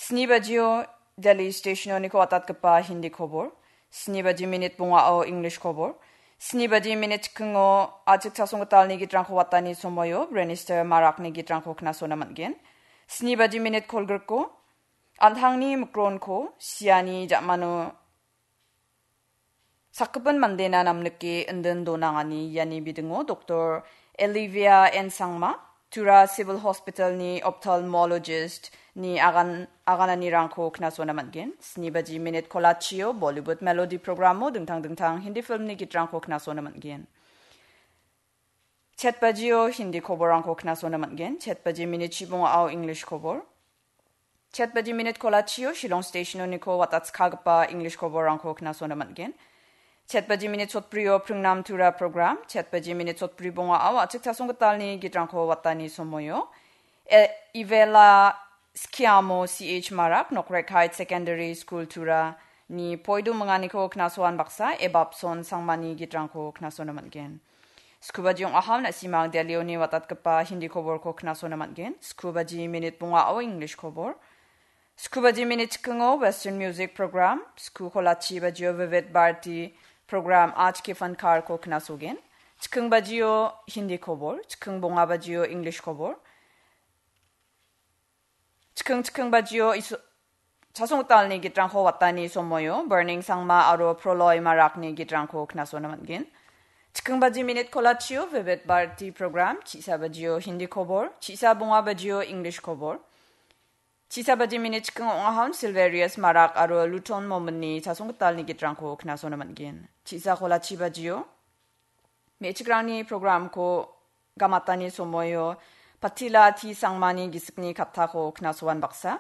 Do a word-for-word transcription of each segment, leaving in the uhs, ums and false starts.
Sni bajio Delhi stationoniko watatgipa Hindi kobor. Sni baji minit bongao English kobor. Sni baji minit chikingo achik chasonggitalni gitrangko watani somoio Brenister Marakni gitrangko knasona man·gen. Sni baji minit kolgriko an·tangni mikronko siani ja·mano sakgipin mandena namnike indin donangani iani bidingo Doktor Olivia N Sangma, Tura Civil Hospitalni ophthalmologist-ni agan-, agananirangko knasona man·gen. Sni baji minit kolachio Bollywood melody programo dingtang dingtang Hindi filmni gitrangko knasona man·gen. Chet bajio Hindi koborrangko knasona man·gen. Chet baji minit chibongao English kobor. Chet baji minit kolachio Shillong stationoniko watatskagipa English koborrangko knasona man·gen. Chet baji minit sotbrio Pringnam Tura program. Chet baji minit sotbri bongao achik chasonggitalni gitrangko watani somoio. E-, Ivela Skiamo C H Marak, Nokrek Heights Secondary School Tura ni poido minganiko knasoan baksa, Ebapson Sangmani gitrangko knasona man·gen. Sku baji ong·ahao na·simang Delhioni watatgipa Hindi koborko knasona man·gen. Sku baji minit bongao English kobor. Sku baji minit chikingo Western Music Program. Sku kolachi bajio Vivid Bharati Program Aaj Ke Fankarko knasogen. Chiking bajio Hindi kobor. Chiking bonga bajio English kobor. Chiking chiking bajio iso-, chasonggitalni gitrangko watani somoio Burning Sangma aro Proloy Marakni gitrangko knasona man·gen. Chiking baji minit kolachio Vivid Bharati Program, chisa bajio Hindi kobor, chisa bonga bajio English kobor. Chisa baji minit chiking ong·ahon Silverius Marak aro Luton Mominni chasonggitalni gitrangko knasona man·gen. Chisa kolachi bajio me·chikrangni programko gamatani somoio Patila T Sangmani gisikni kattako knasoan baksa.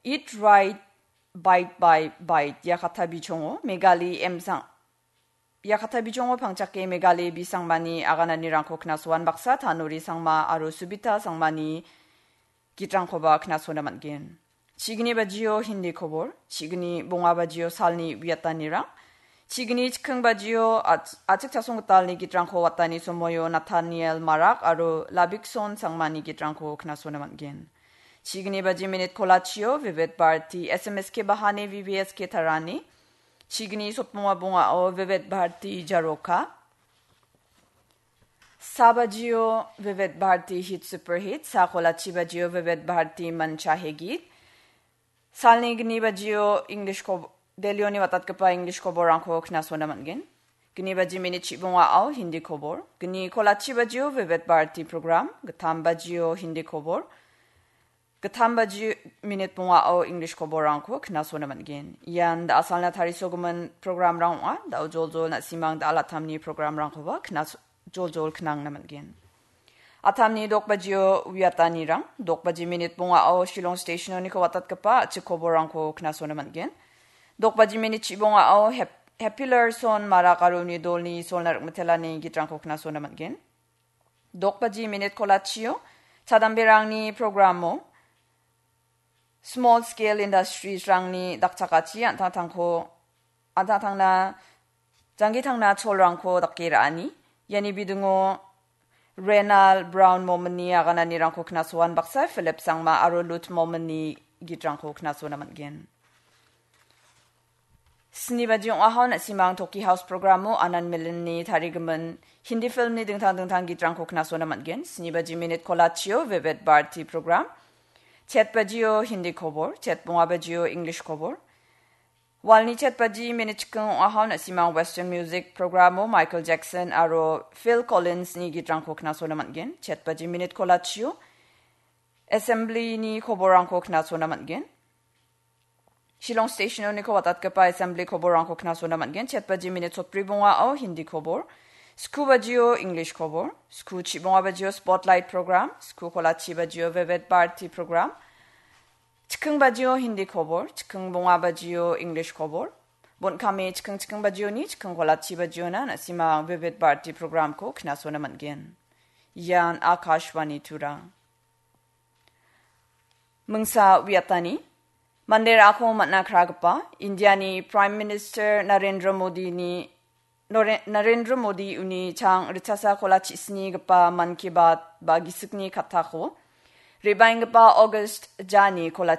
Eat Right, Bite by Bite, ia katta bijongo Megali M Sang-, ia katta bijongo pangchake Megali B Sangmani agananirangko knasoan baksa, Tanuri Sangma aro Subita Sangmani gitrangkoba knasona man·gen. Chigni bajio Hindi kobor, chigni bonga bajio salni uiatanirang, chigni chiking bajio ach-, achik chasonggitalni gitrangko watani somoio Nathaniel Marak aro Labikson Sangmani gitrangko knasona man·gen. Chigni baji minit kolachio Vivid Bharati S M S K Bahani V V S K Tarani, chigni sotbonga bongao Vivid Bharati Jaroka, sa bajio Vivid Bharati Hit Super Hit, sa kolachi bajio Vivid Bharati Mancha Hegit, salni gni bajio English ko-, Delhioni watatgipa English koborrangko knasona man·gen. Gni baji minit chibongao Hindi kobor, gni kolachi bajio Vivid Bharati program, gittam bajio Hindi kobor, gittam baji minit bongao English koborrangko knasona man·gen. Ian da·asalna tarisogimin programrang ong·a. Da·o joljol na·simang da·alatamni programrangkoba knas-, joljol knangna man·gen. Atamni dok bajio uiatanirang, dok baji minit bongao Shillong stationoniko watatgipa achik koborrangko knasona man·gen. Dok baji minit chibongao Hap-, Happy Larson Marak aro uni dolni solna rikmitelani gitrangko knasona man·gen. Dok baji minit kolachio chadamberangni programo Small Scale Industriesrangni dakchakachi an·tangtangko, an·tangtangna, janggi tangna cholrangko dake ra·ani. Iani bidingo Renal Brown Mominni agananirangko knasoan baksa, Philip Sangma aro Lut Mominni gitrangko knasona man·gen. Sni baji ong·ahao na·simang Toki House programo Anand Milanni tarigimin Hindi filmni dingtang dingtang gitrangko knasona man·gen. Sni baji minit kolachio Vivid Bharati program. Chet bajio Hindi kobor, chet bonga bajio English kobor. Walni chet baji minit chikking ong·ahao na·simang Western Music programo Michael Jackson aro Phil Collinsni gitrangko knasona man·gen. Chet baji minit kolachio Assemblyni koborrangko knasona man·gen. Shillong stationoniko watatgipa Assembly koborrangko knasona man·gen. Chet baji minit sotbri bongao Hindi kobor, sku bajio English kobor, sku chibonga bajio Spotlight program, sku kolachi bajio Vivid Bharati program, chikking bajio Hindi kobor, chikking bonga bajio English kobor, bon·kame chikking chikking bajioni, chikking kolachi bajiona na·simang Vivid Bharati programko knasona man·gen. Ian Akashvani Tura. Mingsa uiatani, mande ra·ako man·a kragipa Indiani Prime Minister Narendra Modini, Nore-, Narendra Modi uni chang ritchasa kolachichisnigipa Mann Ki Baat ba gisikni kattako rebaenggipa August jani kolachi